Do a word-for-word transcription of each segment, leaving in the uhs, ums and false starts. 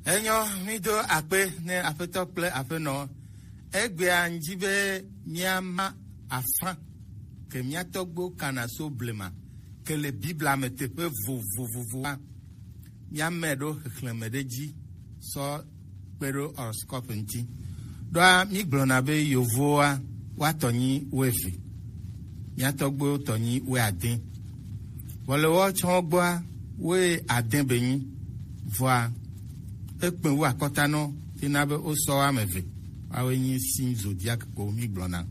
Enyo, mi do akpe ne Aƒetɔ kple Aƒenɔ. Egbea ŋdi be míama afã ke mía tɔgbuiwo kana so blema ke le Biblia me teƒe vovovovoa. Míamɛ ɖo xexlẽme ɖe dzi sɔ kpe ɖo horoscope ŋuti. Ɖoa mígblɔna be yovowoa woatɔ nyi wuieve, mía tɔgbuiwo tɔ nyi wuiade. Vɔ le woawo tsã gbɔa, wuiade be nyi. Vɔa ekpe wu akɔta nɔ tina be wosɔ woame eve. Woawoe nyi signe zodiaque ko mígblɔna.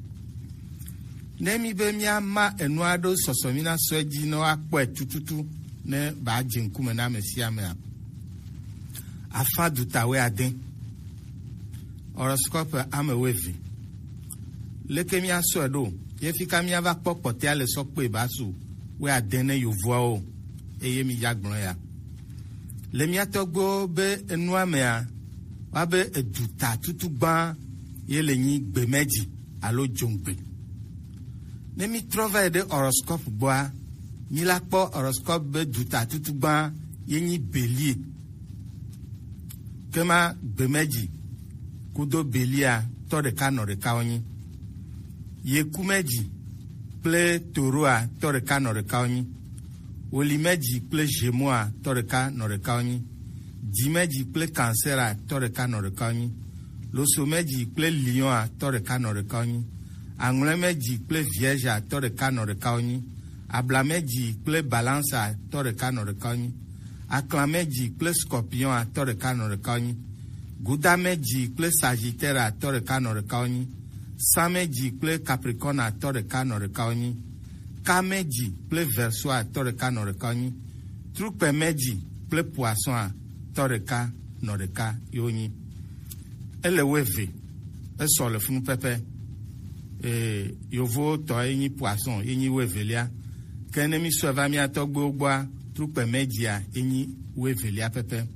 Ne mi be míama enua ɖo sɔsɔ mi na sɔe dzi ne woakpɔe tututu ne ba dze ŋkume na ame sia amea. Afã duta wuiade. Horoscope ame wuieve. Leke míasɔe ɖo? Ye fika míava kpɔ kpɔtɔea le sɔ kpe ba su wuiade ne yovoawo, eye mi ya gblɔ ya. Le mía tɔgbuiwo be enua mea, woabe eduta tutu gbã ye le nyi gbemɛdzi alo dzongbe. Ne mi trɔ va yi ɖe horoscope gbɔa, mi la kpɔ horoscope be duta tutu gbã ye nyi Bélier. Kema gbemɛdzi kudo Bélier tɔ ɖeka nɔ ɖeka wonyi. Yekumɛdzi kple Toroa tɔ ɖeka nɔ ɖeka wonyi. Wolimɛdzi kple Gémeaux tɔ ɖeka nɔ ɖeka wonyi. Dzimɛdzi kple Cancer tɔ ɖeka nɔ ɖeka wonyi. Losomɛdzi kple Lion tɔ ɖeka nɔ ɖeka wonyi. Aŋlɔemɛdzi kple Vierge tɔ ɖeka nɔ ɖeka wonyi. Ablamɛdzi kple Balance tɔ ɖeka nɔ ɖeka wonyi. Aklamɛdzi kple Scorpion tɔ ɖeka nɔ ɖeka wonyi. Gudamɛdzi kple Sagittaire tɔ ɖeka nɔ ɖeka wonyi. Samɛdzi kple Capricorne tɔ ɖeka nɔ ɖeka wonyi. Kamɛdzi kple Verseau tɔ ɖeka nɔ ɖeka wonyi. Trukpɛmɛdzi kple Poisson tɔ ɖeka nɔ ɖeka ye wonyi. Ele wuieve, esɔ le funu pɛpɛ. Ee, yovowo tɔ ye nyi Poisson, ye nyi wuievelia. Ke ne mi sɔe va mía tɔgbuiwo gbɔa, trukpɛmɛdzia ye nyi wuievelia pɛpɛ.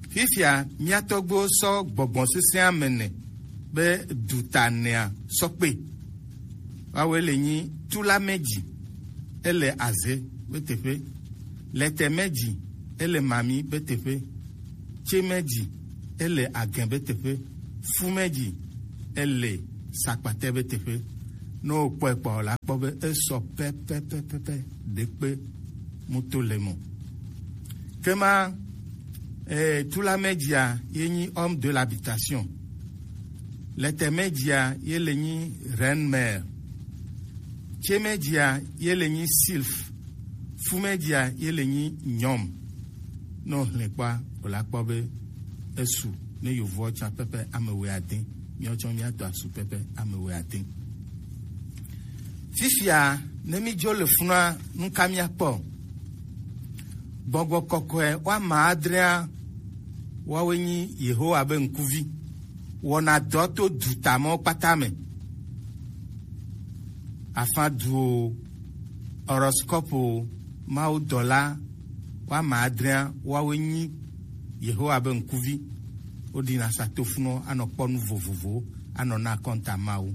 Fifia mía tɔgbuiwo sɔ gbɔgbɔ sesẽ ame ene be duta enea sɔ kpe. Woawoe le nyi Tulamɛdzi, ele Aze be teƒe. Lɛtɛmɛdzi, ele Mami be teƒe. Tsemɛdzi, ele Agɛ be teƒe. Fumɛdzi, ele Sakpatɛ be teƒe. Ne wokpɔe kpɔ la, kpɔ be esɔ pɛpɛpɛpɛ, ɖekpe muto le mo. Kema, eh, Tulamɛdzia ye nyi homme de l'habitation. Lɛtɛmɛdzia ye le nyi reine mère. Tsemɛdzia ye le nyi sylphe. Fumɛdzia ye le nyi nyɔm. Ne wohlẽ kpɔa, wòla kpɔ be esu ne yovoɔ tsã pɛpɛ ame wuiade. Míawo tsã míado asu pɛpɛ ame wuiade. Fifia, ne mídzo le funua, nu ka míakpɔ? Gbɔgbɔ kɔkɔe woame adrea, woawoe nyi Yehowa be ŋkuvi. Wɔna dɔ to duta mawo kpata me. Afã duwo, horoscope wo, mawudɔla woame adrea, woawoe nyi Yehowa be ŋkuvi. Woɖina sa tofunɔ anɔ kpɔ nu vovovowo, anɔ na akɔnta Mawu.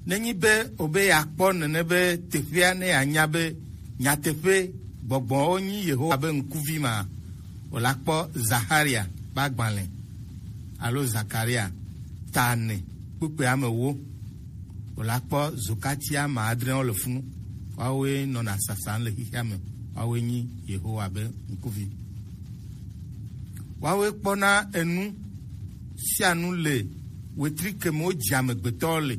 Nenyi be wobe yeakpɔ nene be teƒea ne yeanya be nyateƒe gbɔgbɔwo nyi Yehowa be ŋkuvi ma, wòla kpɔ Zaharia be agbalẽ alo Zakaria ta ene kpukpui ame ewo. Wòla kpɔ zokati ame adreawo le funu. Woawoe nɔna sasam le xexea me. Woawoe nyi Yehowa be ŋkuvi. Woawoe kpɔna enu sia nu le wetri ke me wodzia amegbetɔwo le.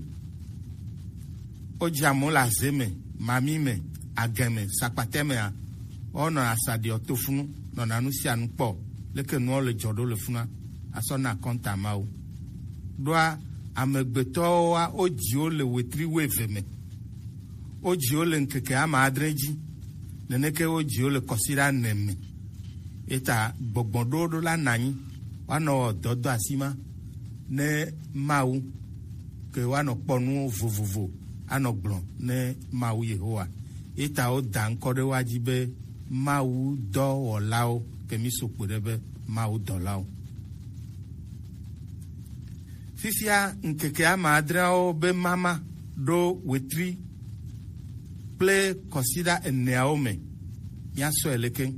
Wodzia amewo le aze me, mami me, agɛ me, sakpatɛ mea, woawo nɔna asaɖiɔ to funu, nɔna nu sia nu kpɔ, leke nuawo le dzɔ ɖo le funua, asɔ na akɔnta Mawu. Ɖoa amegbetɔwoa, wodziwo le wetri wuieve me. Wodziwo le ŋkeke ame adre dzi. Neneke wodziwo le kɔsiɖa ene me. Eta gbɔgbɔ ɖowo ɖo la nɔ anyi, woanɔ wɔ dɔ do asi ma ne Mawu, ke woanɔ kpɔ nuwo vovovo, anɔ gblɔ ne Mawu Yehowa. Eta woda ŋkɔ ɖe woa dzi be Mawu dɔwɔlawo, ke mi so kpe ɖe be Mawu dɔlawo. Fifia ŋkeke ame adreawo be mama ɖo wetri kple kɔsiɖa eneawo me. Míasɔe leke?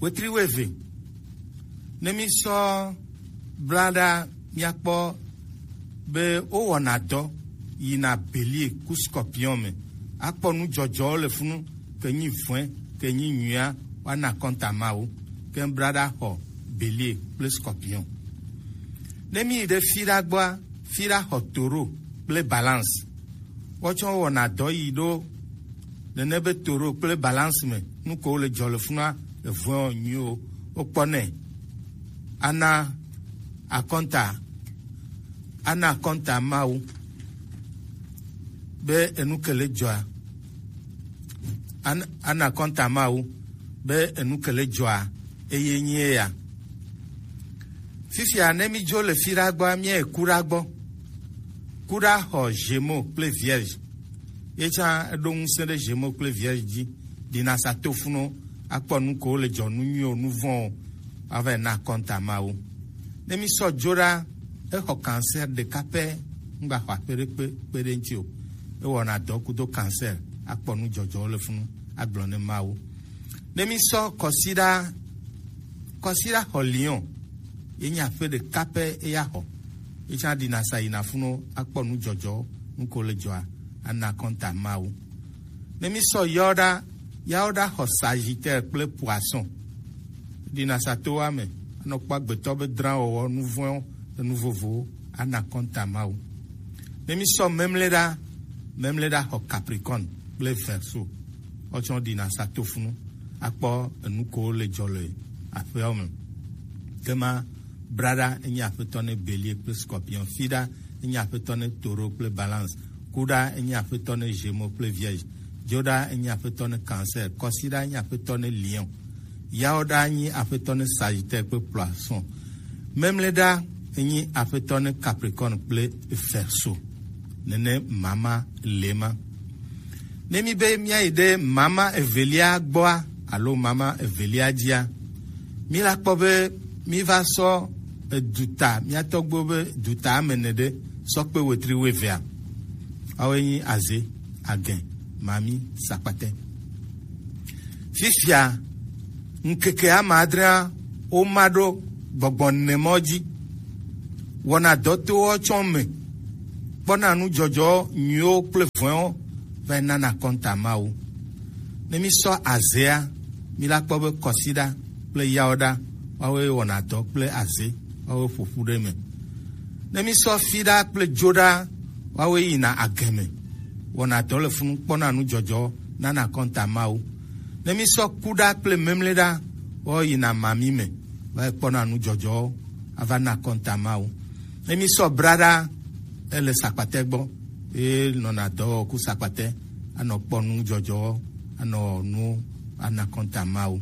Wetri wuieve, Ne mi sɔ bla ɖa, miakpɔ be wowɔna dɔ yina Bélier ku Scorpion me. Akpɔ nu jɔjɔwo le funu, ke nyi vɔ̃e, ke nyi nyuia, woana kɔnta Mawu. Ke bla ɖa xɔ Bélier kple Scorpion. Ne mi yi ɖe fi ɖa gbɔa, fi ɖa xɔ Taureau kple Balance. Wotsɔ wɔna dɔ yi ɖo nene be Taureau kple Balance me, nu ko le dzɔ le funua, le vɔ̃ nyuiwo, wokpɔ nɛ. Ana akɔnta, ana akɔnta Mawu be enu ke le dzɔa, ana, ana akɔnta Mawu be enu ke le dzɔa, eye nyi eya. Fifia ne mi dzo le fi ɖa gbɔa, mia yi ku ɖa gbɔ. Ku ɖa xɔ Gémeaux kple Vierge. Ye tsã eɖo ŋusẽ ɖe Gémeaux kple Vierge dzi. Ɖina sa to funu, akpɔ nu ko le dzɔ, nu nyuiwo, nu vɔ̃wo, ava yi na kɔnta Mawu. Ne mi sɔ dzo ɖa, exɔ Cancer ɖeka pɛ, ŋgba xɔ aƒe ɖe kpe, kpe ɖe ŋuti o. Ewɔna dɔ kudo Cancer, akpɔ nu jɔjɔwo le funu, agblɔ ne Mawu. Ne mi sɔ Kɔsiɖa, Kɔsiɖa xɔ Lion, ye nyi aƒe ɖeka pɛ eya xɔ. Ye tsã ɖina sa yina funu, akpɔ nu jɔjɔ, nu ko le dzɔa, ana kɔnta Mawu. Ne mi sɔ Yawo ɖa, Yawo ɖa xɔ Sagittaire kple Poisson. Ɖina sa to wa me, anɔ kpɔ agbetɔ be drawɔwɔ, nu vɔ̃wo, enu vovowo, ana kɔnta Mawu. Ne mi sɔ Memle ɖa, Memle ɖa xɔ Capricorne kple Verseau. Wotsɔ ɖina sa to funu, akpɔ enu ko le dzɔ le aƒeawo me. Kema Braɖa enye aƒetɔ ne Bélier kple Scorpion. Fiɖa enye aƒetɔ ne Taureau kple Balance. Kuɖa enye aƒetɔ ne Gémeaux kple Vierge. Dzoɖa enye aƒetɔ ne Cancer. Kɔsiɖa enye aƒetɔ ne Lion. Yawoɖa enye aƒetɔ ne Sagittaire kple Poisson. Memleɖa enye aƒetɔ ne Capricorne kple Verseau. Nene mama le ma. Ne mi be miayi ɖe mama evelia gbɔa alo mama evelia dzia, mi la kpɔ be mi va sɔ eduta, mia tɔgbuiwo be duta ame ene ɖe sɔ kpe wetri wuevea. Woawoe nyi Azé, Agɛn, Mami, Sakpatɛ. Fifia, ŋkeke ame adrea woma ɖo gbɔgbɔ nemɔ dzi. Wɔna dɔ to wo tsɔ me. Kpɔna nu dzɔdzɔ nyuiwo kple vɔ̃ewo va yi nana kɔnta Mawu. Ne mi sɔ Azéa, mi la kpɔ be Kɔsiɖa kple Yawoɖa, woawoe wɔna dɔ kple Azé, woawoe ƒoƒu ɖe me. Ne mi sɔ Fiɖa kple Dzoɖa, woawoe yina Agɛn me, wɔna dɔ le funu, kpɔna nu dzɔdzɔ, nana kɔnta Mawu. Ne mi sɔ Kuɖa kple Memleɖa, woawo yina Mami me, va yi kpɔna nu dzɔdzɔ, ava na kɔnta Mawu. Ne mi sɔ Braɖa, ele Sakpatɛ gbɔ, ye nɔna dɔ wɔ ku Sakpatɛ, anɔ kpɔ nu dzɔdzɔ, anɔ nu, ana kɔnta Mawu.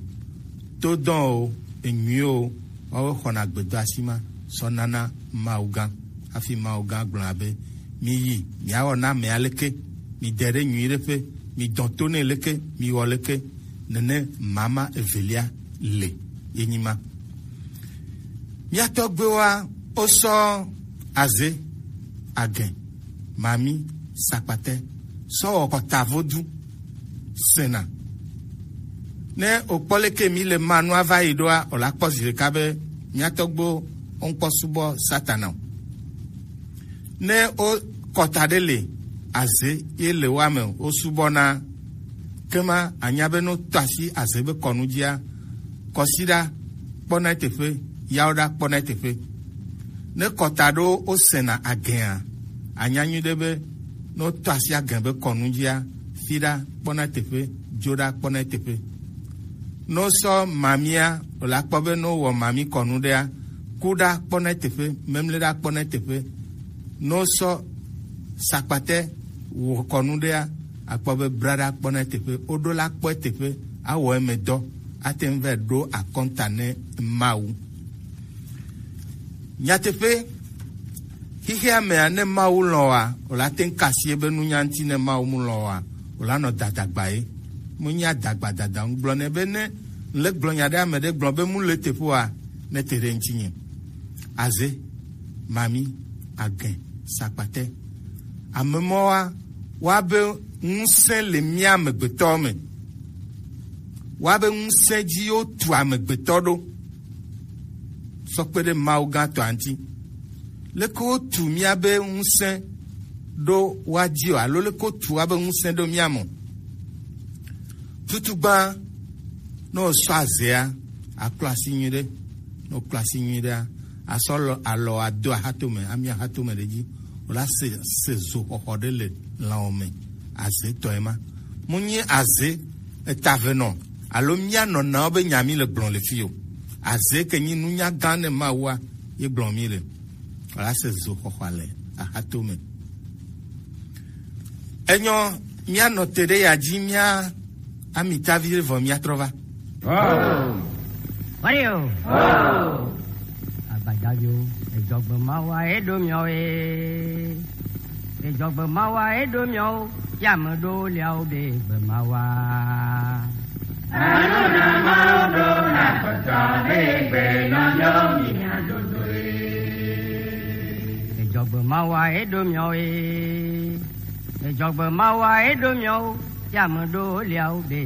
To dɔn o, enyui o, woawo xɔna gbedoasi ma sɔ nana Mawu gã. Hafi Mawu gã gblɔna be, mi yi, miawɔ na ame aleke, mi de ɖe nyui ɖe ƒe, mi dɔn to nɛ leke, mi wɔ leke, nene mama evelia le, ye nyi ma. Mia tɔgbuiwoa, wosɔ Azé, Agɛn, Mami, Sakpatɛ, sɔ wɔ kɔta vodu sena. Ne wokpɔ leke mi le ma nua va yi ɖoa, wòla kpɔ zi ɖeka be mia tɔgbuiwo woŋkpɔ subɔ Satana o. Ne wo kɔta ɖe le Azé ye le woa me, wosubɔna, kema anya be ne wotɔ asi Azé be kɔnu dzia, Kɔsiɖa kpɔna eteƒe, Yawoɖa kpɔna eteƒe. Ne kɔta ɖo wosena Agɛa, anya nyuiɖe be ne wotɔ asi Agɛn be kɔnu dzia, Fiɖa kpɔna eteƒe, Dzoɖa kpɔna eteƒe. Ne wosɔ Mamia, wòla kpɔ be ne wowɔ Mami kɔnu ɖea, Kuɖa kpɔna eteƒe, Memleɖa kpɔna eteƒe. Ne wosɔ Sakpatɛ wɔ kɔnu ɖea, akpɔ be Braɖa kpɔna eteƒe, woɖo la kpɔ eteƒe, awɔ eme dɔ, ate ŋu va ɖo akɔnta ne Mawu. Nyateƒe, xexea mea, ne Mawu lɔ̃ oa, wòla te ŋu kasi ebe nunya ŋuti, ne Mawu mu lɔ̃ oa, wòla nɔ dadagba ye. Mu nya dagba dada ŋu gblɔ nɛ be ne le gblɔ nya ɖe ame ɖe gblɔ be mu le teƒe oa, ne te ɖe ŋutinye. Azé, Mami, Agɛn, Sakpatɛ. Ame mɔwoa, woabe ŋusẽ le mía amegbetɔwo me. Woabe ŋusẽ dzi wotu amegbetɔ ɖo. tɔ kpe ɖe Mawu gã tɔa ŋuti. Leke wotu míabe ŋusẽ ɖo woa dzi o, alo leke wotu woabe ŋusẽ ɖo mía me o? Tutugbã, ne wòsɔ azea, akplɔ asi nyuiɖe. Ne wòkplɔ asi nyuiɖea, asɔ alɔ, alɔ ado axatome, ami axatome ɖe dzi. Wòla se, se zo xɔxɔ ɖe le lãwo me. Aze tɔe ma. Mu nyi aze etavenɔ alo mía nɔnawo be nya mi le gblɔ le fi o. Aze ke nyi nunya gã ne Mawua ye gblɔ mi le. Wòla se zo xɔxɔ le axatome. Enyɔ, míanɔ te ɖe ya dzi, mía amitavi ɖe vɔ míatrɔ va. Wari o. Agbadaviwo, edzɔgbe Mawua ye ɖo miɔ ye. Edzɔgbe Mawua ye ɖo miɔ, ya me ɖo liawo be gbe Mawua. Alo na Mawu ɖo na kpɔtɔ be gbe nɔ miɔ mi adodo ye. Edzɔgbe Mawua ye ɖo miɔ ye. Edzɔgbe Mawua ye ɖo miɔ, ya me ɖo liawo be